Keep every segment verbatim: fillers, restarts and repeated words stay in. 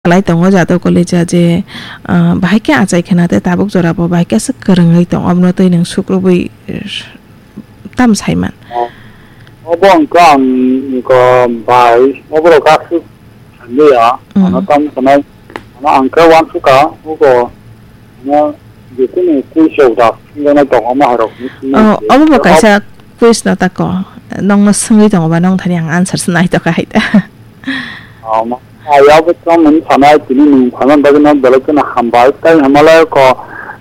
Khlai tongo Jadw Kalija je, ah, bahai khe achai khna tei tabuk jora bo bahai khe aswk kwrwngwi tong, omono twi nwng sukrubwi, eh, tam saiman. Obo wngkha ang wngkha bai, oborok aswk sanliya, Mm. ano tam sanai, ano ang khe uansukha, obo, ano, jekunu kuisok da, singgana tong, omo hai rok ni sinai Oh, je. Obo bo kaisa quiz no tako, nongno swngwi tongo ba, nong thani ang answer se nai tokha hai ta. Omo. Ayabo tamo wng sanai tini nwng phaimani bagwi no belai kheno hambai. Tai hamale ko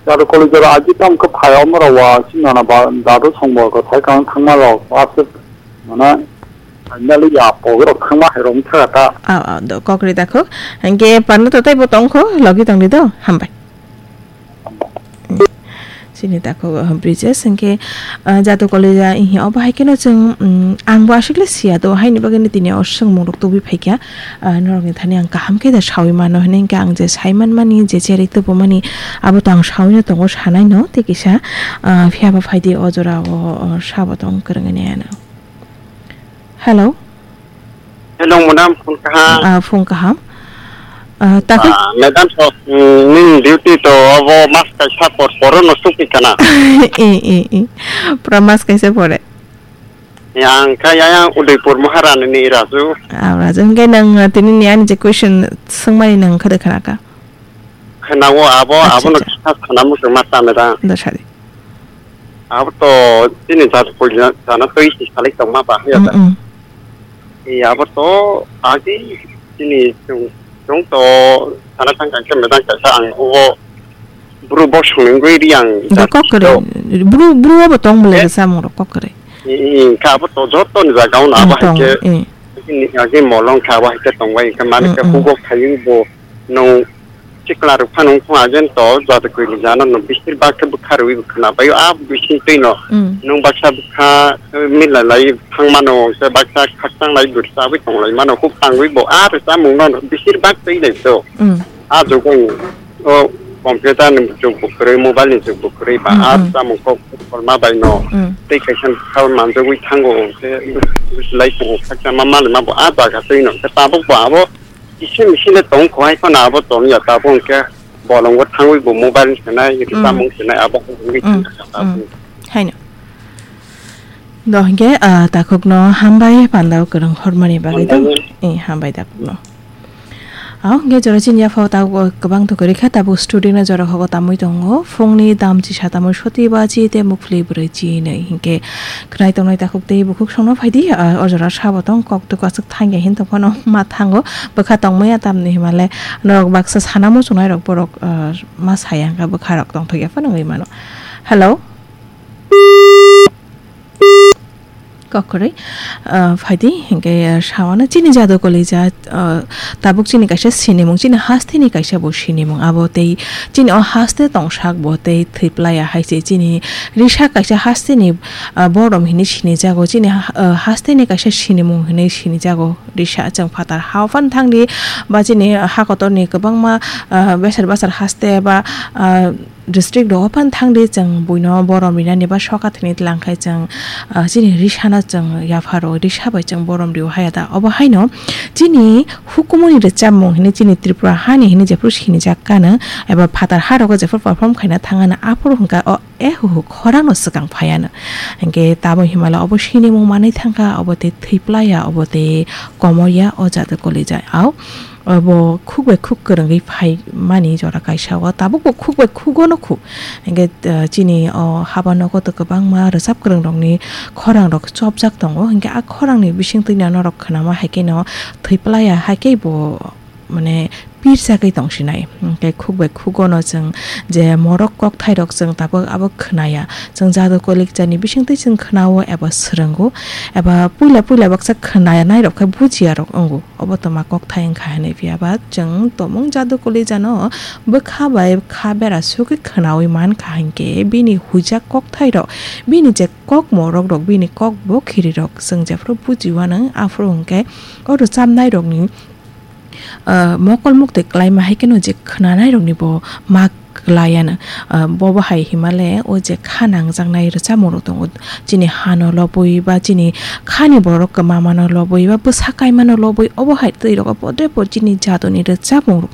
Jadw Kalija rok agi tamo khe phai omo rok wa sinana ba dadu songbo ko thai kang thangma rok aswk mana finally ya pogwi rok thangma hai rok wngkha ta. Ah, ah, do kokri dakhuk. Hingke panna to tei bo tongkho, logi tongdi do. Hambai. Chini takhuk, uh, Brijesh, hingke, uh, Jadw Kalija, ihi, obo hai kheno chwng, um, ang bo aswk le siya do, haini bagwi no tini o swngmung rok tubui phaikha, uh, norok ni thani ang kaham khe da sawi mano, hwnwi hingke ang je sai manmani, je cherwi tubumani, abo to ang sawi no tongo, sanai no, tei kisa, uh, phiya ba phaidi o jora o, o sabo tong kwrwngni ano. Hello. Hello, madam, phone kaham. Ah, phone kaham. Ah, takhuk. Ah, madam, so, mm, nini duty to abo mas kaisa por poro no suki kana. Eh, eh, eh. Pura mas kaisa pore. Yang kha ya yang Udaipur Maharani ni Raju. Ah, Raju, hingke nang, ah, tini ni ani je question swngmani nang khade khana ka? Khana o abo, Acha, abo no acha. Kisa khana muchung ma ta madam. Da sadi. Abo to chini jat pui jana twi si salai tongma ba haya Mm, da. Mm. E abo to agi chini chung, chung to sana thang kang khe medang kaisa ang ubo bru bosong ni gwi ri ang Da jat kok kere. To. Bru, bru abo tong bole Eh? Samung rok kok kere. E, e, ka abo to joto ni jaga un abo Mm, hai tong, khe eh. Chini agi molong kha abo hai khe tong bai khe mani Mm, khe mm. Hugo khayu bo nung Chikla rok phano wngkha agent to jat kwini jana no bisir bak khe bwkha rwi bwkhwna bai a bising twi no Mm. Nwng baksa bwkha, eh, mila lai thang mano, se baksa khakchang lai gursa wi tong lai mano, huk tangwi bo a rwchapmung no bisir bak twi lai to. Mm. A jugo o computer ni jug bo kwrwi, mobile ni jug bo kwrwi ba Mm, a mm. Rwchapmung kok kolma bai no Mm. Tei kaisa bwkha manjagwi thango, se lai tongo khakchangma mali ma bo a jaga twi no, se tabuk bo abo Kisa misile tong kho hai phano abo tong ya tabuk hwnkhe bolongo thangwi bo mobile ni sanai, Mm. Samung sanai abo wngwi Mm. Thangkha tabuk. Mm. Haino. Do hwnkhe, ah, takhukno hambai pandao kwrwng hormani bagwi do. Hambai. Eh, hambai takhukno. Ah, hwnkhe jora chini yaphao tabuk kwbang to kwrwi kha, tabuk studio no jora hogo tamwi tongo. Phungni dam chisa tamwi soti baji tei mukhli brwi chinwi hwnkhe khwnai tongnai takhuk tei bukhuk songno phaidi, ah, o jora sabo tong kok twi kwchwk thangya hin tongphano ma thango bwkha tongmaya tamni himale norok baksa sana muchungnai rok borok, ah, ma saya hwnkha bwkha rok tongthokya phano wngwi mano. Hello. Kokrwi, ah, phaidi, hingke, ah, sawana chini jado kolija, ah, tabuk chini kaisa sinimung, chini hasteni kaisa bo sinimung, abo tei chini o haste tongsak bo tei thwiplaya hai se chini risa kaisa hasteni, ah, borom hinui sinijago, chini ha-, ah, hasteni kaisa sinimung hinui sinijago risa chwng phatar ha o phano thangdi ba chini ha kotorni kwbangma, ah, besar basar haste ba, ah, district rogo phano thangdi chwng buino borom rinani ba soka thwini tlang khai chwng, ah, chini risano chwng yapharo risa bai chwng borom rio haya da. Obo haino chini hukumuni rwchapmung hinui chini Tripura hani hinui jephuru sinijak kano eba phatar ha rogo jephuru perform khaina thangano aphuru hwnkha o ehuhu khorangno swkang phaiano. Hinkhe tamo himala obo sinimung manwi thangkha, obo tei thwiplaya, obo tei komorya o jado kolija. Au. Obo khuk bai khuk kwrwngwi phaimani jora kaisa o, tabukbo khuk bai khugono khu. Hinkhe, ah, chini o haba nogo to kwbangma rwchap kwrwngrokni khorangrok chopjak tongo. Hinkhe a khorangni bisingtwi no norok khwnama hai kheno thwiplaya hai khe bo, mane, pirchagwi tongsinai. Hinkhe khuk bai khugono chwng je morok kokthairok chwng tabuk abo khwnaya. Chwng jado kolikjani bisingtwi chwng khwnao eba swrwngo, eba puila puila baksa khwnanairok khe bujiyarok wngo. Obo toma kokthai wngkha hinui phiya ba chwng tomung jado kolijano bwkha bai kha bera sugwi khwnaui mankha hinkhe bini huijak kokthairok, bini je kokmorok rok, bini kok bo khirirok chwng jephuru bujiwano aphuru hinkhe o rwchapnairokni, ah, mokol muktwi klaima hai kheno je khwnanairokni bo mak Kwlaiano, ah, bobo hai himale o je kha nangjaknai rwchapmung rok tongo, chini hano lobwi ba chini khani borok kwmamano lobwi ba bwsa kaimano lobwi, obo hai twi rogo podre pod chini jadoni rwchapmung rok